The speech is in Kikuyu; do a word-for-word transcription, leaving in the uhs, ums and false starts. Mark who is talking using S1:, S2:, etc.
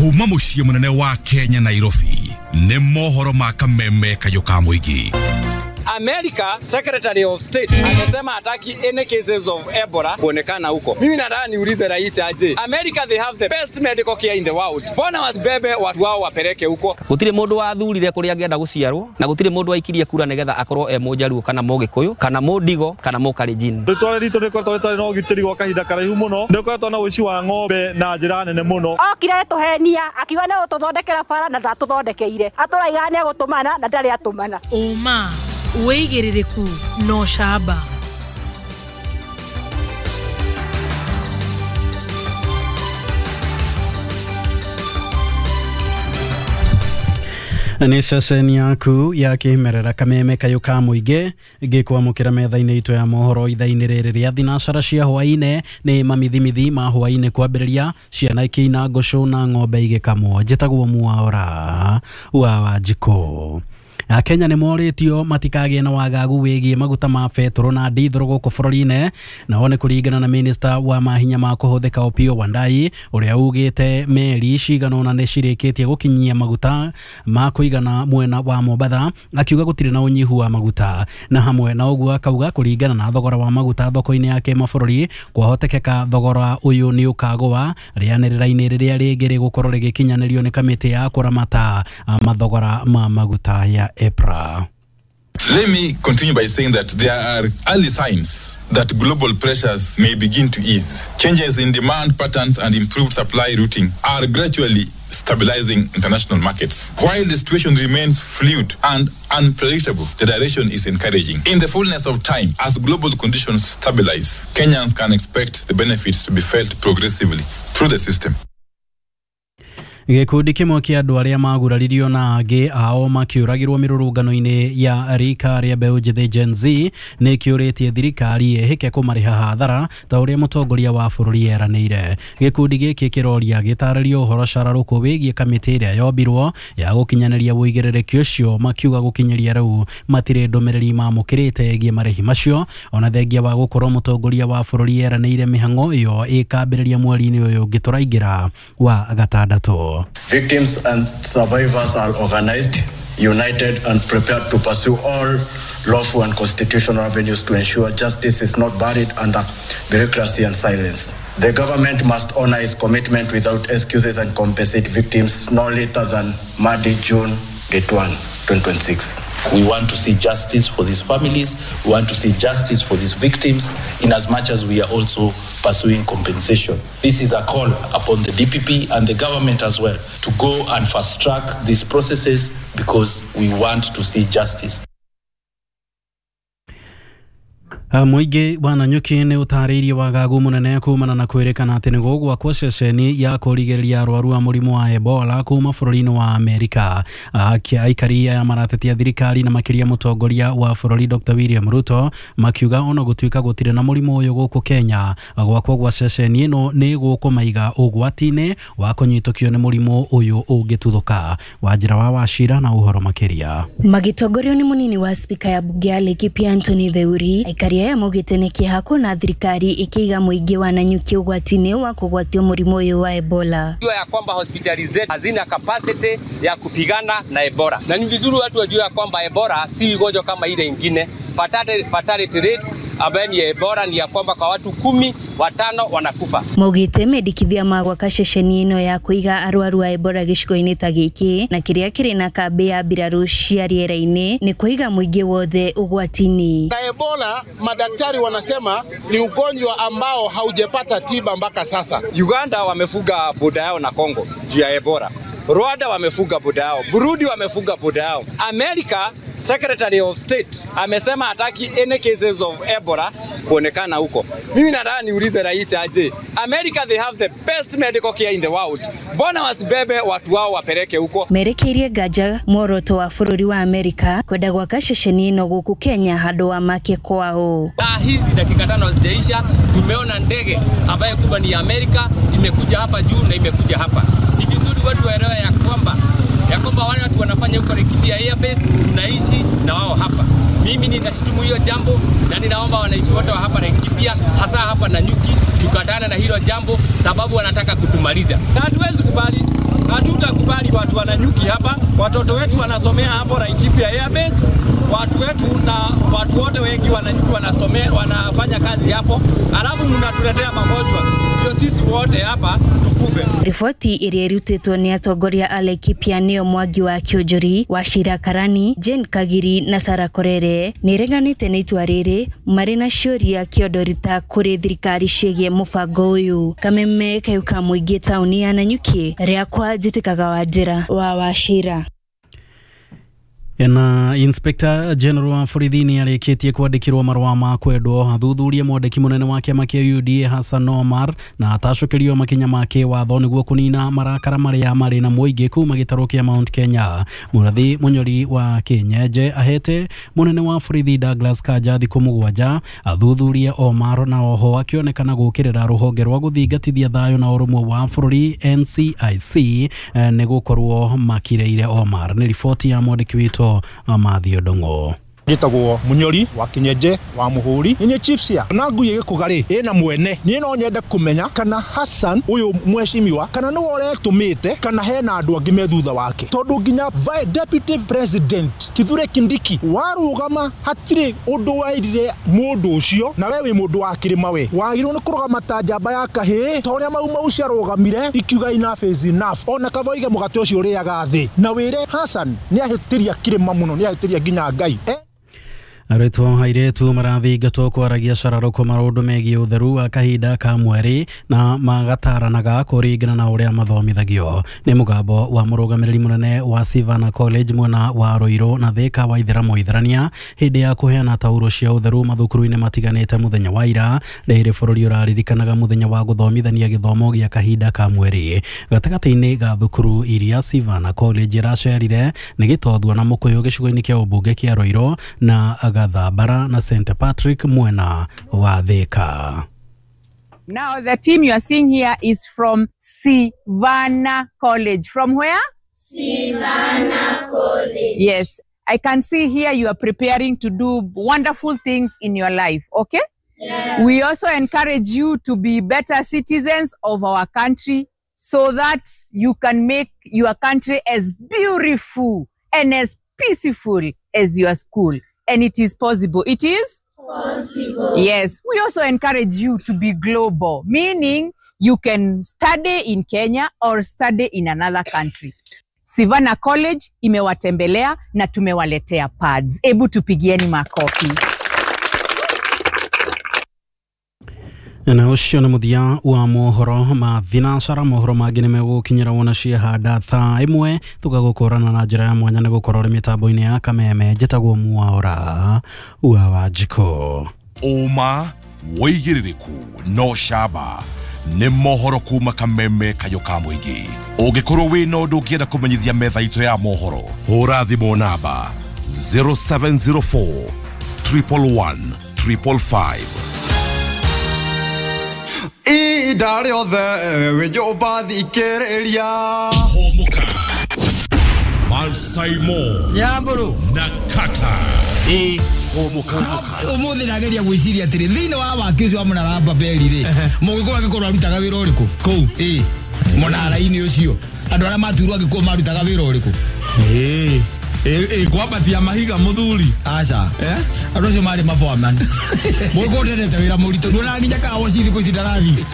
S1: Kuma mũciĩ mũnene wa Kenya Nairobi nĩ mohoro ma kameme kayũ ka mũingĩ.
S2: America Secretary of State amesema hataki any cases of Ebola kuonekana huko. Mimi nataka niulize rais aje. America, they have the best medical care in the world. Mbona wasibebe watu wao wapeleke huko?
S3: Gutire mundu wathurire kuria angĩenda guciarwo na gutire mundu waikirie kura nigetha akorwo e munjaruo kana mugikuyu kana mundigo kana mukalenjin.
S4: Ritwa ritũ rĩkoretwo rĩtarĩ na ũgitĩri gwa kahinda karaihu mũno. Nĩũkoretwo na ũici wa ng'ombe na njĩra nene mũno.
S5: Okire tũhenia akiuga nĩ gũtũthondekera bara na ndatũthondekeire. Atũraiga nĩ egũtũmana na ndarĩ atũmana.
S6: Ũma wĩigĩrĩrĩku no camba.
S7: Nĩ ceceni yaku ya kĩmerera kameme kayũ ka mũingĩ ngĩkwamũkĩra metha-inĩ itũ ya mohoro ithaa-inĩ rĩrĩ rĩa thinacara cia hwaĩ-inĩ. Nĩ mamithimithi ma hwaĩ-inĩ kwambĩrĩria ciana ikĩina ngũcũ na ng'ombe igĩkamwo. Njĩtagwo Mwaura wa Wanjikũ. Akenya nĩ morĩtio matikagĩe na wagagu wĩgiĩ maguta ma betũrũ na ndithũrũ gũkũ bũrũri-inĩ. Nao nĩ kũringana na minista wa mahinya ma kũhũthĩka Opiyo Wandayi ũrĩa ugĩte meri cigana ũna nĩ cirĩkĩtie gũkinyia maguta ma kũigana mwena wa Mombatha, akiuga gũtirĩ na ũnyihu wa maguta. Na hamwe na ũguo akauga kũringana na thogora wa maguta thoko-inĩ ya kĩmabũrũri kwahotekeka thogora ũyũ nĩ ũkagũa rĩanĩrĩra-inĩ rĩrĩa rĩngĩ rĩgũkorwo rĩgĩkinyanĩrio nĩ kamĩtĩ ya kũramata mathogora ma maguta ya EPRA.
S8: Let me continue by saying that there are early signs that global pressures may begin to ease. Changes in demand patterns and improved supply routing are gradually stabilizing international markets. While the situation remains fluid and unpredictable, the direction is encouraging. In the fullness of time, as global conditions stabilize, Kenyans can expect the benefits to be felt progressively through the system.
S7: Gĩkundi kĩmwe kĩa andũ arĩa maguraririo na angĩ ao makĩũragĩrwo mĩrũrũngano-inĩ ya rika rĩa mbeũ njĩthĩ Gen Z nĩ kĩũrĩtie thirikari ĩhĩke kũmarĩha hathara ta ũrĩa mũtongoria wa bũrũri eranĩire. Gĩkundi gĩkĩ kĩroria gĩtarĩrio ũhoro cararũkũ wĩgiĩ kamĩtĩ ĩrĩa yombirwo ya gũkinyanĩria ũigĩrĩrĩki ũcio, makiuga gũkinyĩria rĩu matirĩ ndũmĩrĩri mamũkĩrĩte ĩgiĩ marĩhi macio, ona thengia wa gũkorwo mũtongoria wa bũrũri eranĩire mĩhang'o ĩyo ĩkambĩrĩria mweri-inĩ ũyũ ũngĩ tũraingĩra wa gatandatũ.
S9: Victims and survivors are organized, united, and prepared to pursue all lawful and constitutional avenues to ensure justice is not buried under bureaucracy and silence. The government must honor its commitment without excuses and compensate victims no later than Monday, June thirty-first, twenty twenty-six.
S10: We want to see justice for these families. We want to see justice for these victims, in as much as we are also pursuing compensation. This is a call upon the D P P and the government as well to go and fast track these processes because we want to see justice.
S7: Mũingĩ wa Nanyuki nĩ ũtarĩirie wagagu mũnene kumana na kwĩrĩkana atĩ nĩ gũgwakwo ceceni ya kũrigĩrĩria arwaru a mũrimũ wa Ebola kuma bũrũri-inĩ wa Amerika. Aikari aya maratetia thirikari na makĩria mũtongoria wa bũrũri Doctor William Ruto makiuga ona gũtuĩka gũtirĩ na mũrimũ ũyũ gũkũ Kenya, gwakwo gwa ceceni ĩno nĩ gũkũmaiga ũgwati-inĩ wa kũnyitũkio nĩ mũrimũ ũyũ ũngĩtuthũka. Wanjĩra wa Wachira na ũhoro makĩria.
S11: Magĩtongorio nĩ mũnini wa spika ya bunge ya Laikipia Anthony Theuri, aikari aya maugĩte nĩ kĩeha kuona thirikari ĩkĩiga mũingĩ wa Nanyuki ũgwati-inĩ wa kũgwatio mũrimũ ũyũ wa Ebola.
S2: Jua ya kwamba hospitali zetu hazina capacity ya kupigana na Ebola, na ni vizuri watu wajue ya kwamba Ebola si ugonjwa kama ile ingine. Fatality, fatality rate ambayo ni Ebola ni ya kwamba kwa watu kumi watano wanakufa.
S11: Maugĩte mendekithia ma gwaka ceceni ĩno ya kũiga arwaru a Ebola gĩcigo-inĩ ta gĩkĩ na kĩrĩa kĩrĩ na kambĩ ya mbirarũ cia rĩera-inĩ nĩ kũiga mũingĩ wothe ũgwati-inĩ.
S12: Na Ebola madaktari wanasema ni ugonjwa ambao haujapata tiba mpaka sasa.
S2: Uganda wamefuga boda yao na Kongo juu ya Ebola. Rwanda wamefuga boda yao, Burundi wamefuga boda yao. America Secretary of State amesema hataki any cases of Ebola kuonekana huko. Mimi nataka niulize rais aje. America, they have the best medical care in the world. Mbona wasibebe watu wao wapeleke huko?
S11: Merekeirie nganja muoroto wa bũrũri wa Amerika kwenda gwaka ceceni ĩno gũkũ Kenya handũ wa make kwao.
S2: Saa hizi dakika tano hazijaisha tumeona ndege ambayo kubwa ni Amerika imekuja hapa juu na imekuja hapa. Ni vizuri watu waelewe ya kwamba ya kwamba wale watu wanafanya huko Laikipia Airbase tunaishi na wao hapa. Mimi ninashutumu hiyo jambo na ninaomba wananchi wote wa hapa Laikipia, hasa hapa Nanyuki, tukatane na hilo jambo sababu wanataka kutumaliza.
S13: Na hatuwezi kubali.
S2: Hatutakubali watu wananyuki hapa, watoto wetu wanasomea hapo Laikipia Airbase, watu wetu na watu wote wengi wananyuki wanasomea, wanafanya kazi hapo, alafu mnatuletea magonjwa. Ndio sisi wote hapa tukufe.
S11: Riboti ĩrĩa ĩrutĩtwo nĩ atongoria a Laikipia nĩo Mwangi wa Kĩonjori, Wachira Karani, Jane Kagiri na Sarah Korere nĩ ĩreganĩte na itua rĩrĩ marĩ na ciũria kĩondorita kũrĩ thirikari ciĩgiĩ mũbango ũyũ. Kameme kayũ ka mũingĩ taũni ya Nanyuki, rĩakwa njĩtĩkaga Wanjĩra wa Wachira.
S7: Na Inspector General wa borithi nĩ arĩkĩtie kwandĩkĩrwo marũa ma kwendwo athuthurie mwandĩki mũnene wa kĩama kĩa U D A Hassan Omar na atacũkĩrio makinya ma kĩwatho nĩguo kũnina marakara marĩa marĩ na mũingĩ kuma gĩtarũ kĩa Mount Kenya. Mũrathi Mũnyori wa Kĩnyenje ahete mũnene wa borithi Douglas Kanja thikũ mũgwanja athuthurie Omar na oho akĩonekana gũkĩrĩra rũhonge rwa gũthingatithia thayũ na ũrũmwe wa bũrũri N C I C nĩ gũkorwo makireire Omar. Nĩ riboti ya mwandĩki witũ Mathio Ndong'o.
S13: Njĩtagwo Mũnyori wa Kĩnyenje wa Mũhũri, nĩ chief cia na ngui ĩgĩkũga rĩ ĩna mwene. Niĩ no nyende kũmenya kana Hassan ũyũ mheshimiwa kana nĩwe ũretũmĩte kana hena andũ angĩ me thutha wake, tondũ nginya deputy president Kithure Kindiki warũgama hatirĩ ũndũ wairire mũndũ ũcio, na we wĩ mũndũ wa kĩrĩma, we wagĩrĩirwo nĩ kũrũgama ta njamba ya kahĩĩ ta ũrĩa Mau Mau ciarũgamire ikiuga enough is enough. Ona kaba oige mũgate ũcio ũrĩaga thĩ, na wĩre Hassan nĩahĩtĩria kĩrĩma mũno, nĩahĩtĩria nginya Ngai.
S7: Arutwo airĩtu marathingatwo kwaragia cararũkũ maũndũ megiĩ ũtheru wa kahinda ka mweri na magataranaga kũringana na ũrĩa mathomithagio. Nĩ mũgambo wa mũrũgamĩrĩri mũnene wa Sivana College mwena wa Ruiru na Thika wa Ithĩramu Ithĩrania hĩndĩ ya kũheana tauro cia ũtheru mathukuru-inĩ matiganĩte mũthenya wa ira. Rĩrĩ bũrũri ũraririkanaga mũthenya wa gũthomithania gĩthomo gĩa kahinda ka mweri. Gatagatĩ-inĩ ga thukuru iria Sivana College iracerire nĩ Gĩtothua na Mũkũyũ gĩcigo-inĩ kĩa ũmbunge kĩa Ruiru na Gathambara na Saint Patrick mwena wa Thika.
S14: Now the team you are seeing here is from Sivana College. From where?
S15: Sivana College.
S14: Yes, I can see here you are preparing to do wonderful things in your life, okay?
S15: Yes.
S14: We also encourage you to be better citizens of our country so that you can make your country as beautiful and as peaceful as your school. And it is possible. It is?
S15: Possible.
S14: Yes. We also encourage you to be global, meaning you can study in Kenya or study in another country. Sivana College imewatembelea na tumewaletea pads. Ebu tupigieni makofi.
S7: Na ũcio nĩ mũthia wa mohoro ma thinacara. Mohoro mangĩ nĩ megũkinyĩra wona ciahanda thaa ĩmwe tũgagũkũrana na njĩra ya mwanya nĩ gũkorwo ũrĩ mĩtambo-inĩ ya Kameme. Njĩtagwo Mwaura wa Wanjikũ.
S1: Ũma wĩigĩrĩrĩku no camba nĩ mohoro kuma Kameme kayũ ka mũingĩ. Ũngĩkorwo wĩna ũndũ ũngĩenda kũmenyithia metha itũ ya mohoro, hũra thimũ namba zero seven zero four triple one triple five.
S16: Ihinda rĩothe wĩ nyũmba thikĩrĩria.
S1: Hũmũka Malsaimo
S17: Nyamburu
S1: na Kata. Ĩ hũmũka
S17: ũmũthĩ ndageria gwĩciria atĩrĩ thĩinĩ wa waki ũcio wa mũnara wa Babeli rĩ, mũgĩkũyũ angĩkorwo arutaga wĩra ũrĩkũ kũu? Ĩ mũnara-inĩ ũcio andũ arĩa matuirwo angĩkorwo marutaga wĩra ũrĩkũ?
S18: Ĩ ĩ kwambatia mahiga mũthuri.
S17: Aca andũ acio marĩ maboaman. Mũgĩkũyũ ndendete wĩra mũritũ, nduonaga nginya kawa cithi thikũ ici ndarathiĩ.